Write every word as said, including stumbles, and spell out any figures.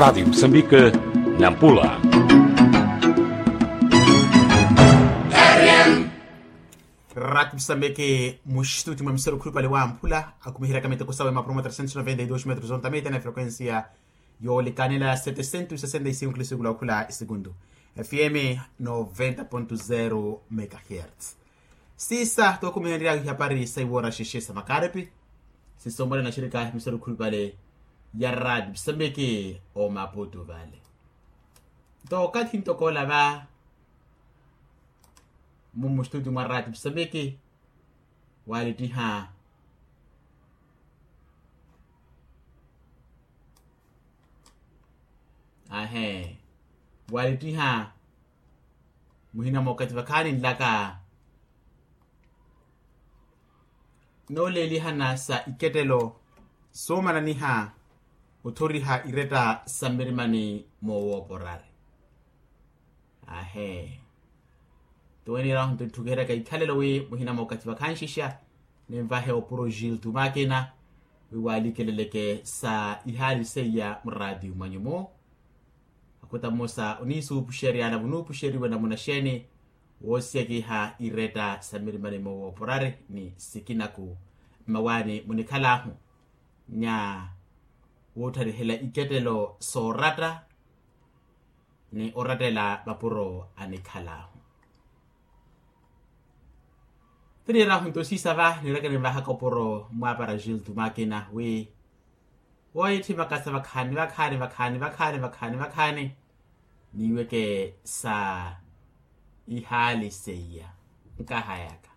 Rati msambike, nampula. Rati msambike, mustuti mwa misoro khulupale wa mpula akumihiryaka miteko sawe mapuro mwa trecentos noventa y dos metros ontamita na frequencia yoolekanela setecentos sesenta y cinco kilisukula okhula isekundu. Fm noventa ponto zero megahertz. Sisa tookumihenryahu ihapari sa iwora xexe sa makarepi. Sisa omwalana xirika misoro khulupale ya rati msambiki omaputu vale. Nto okathi ntokoola va mumustuti mwa rati msambiki walittiha. Ahe, walittiha muhina mwa okathi vakhaani nlaka nooleelihana sa ikettelo soomananiha othoriha iretta sa mmirimani moowooporari. Ahe, toweneerahu nto etthukiheryaka ikhalelo wi muhina mwa okathi vakhanxixa ninvahe opuro giltu makina wi waalikeleleke sa ihaali seiya muraati mwanyu-mu. Akuta mmosa oniisuupuxerya na vunuupuxeriwe namuna xeeni woosiyakiha iretta sa mmirimani moowooporari ni sikinaku mmawaani munikhalaahu nya woottarihela ikettelo sooratta ni orattela mapuro anikhalaahu. Tiniirahu nto siisa va niiraka ninvahaka opuro mwaapara giltu makina wi woyetthimaka sa vakhaani vakhaani vakhaani vakhaani vakhaani vakhaani niiweke sa ihaali seiya. Nkahayaka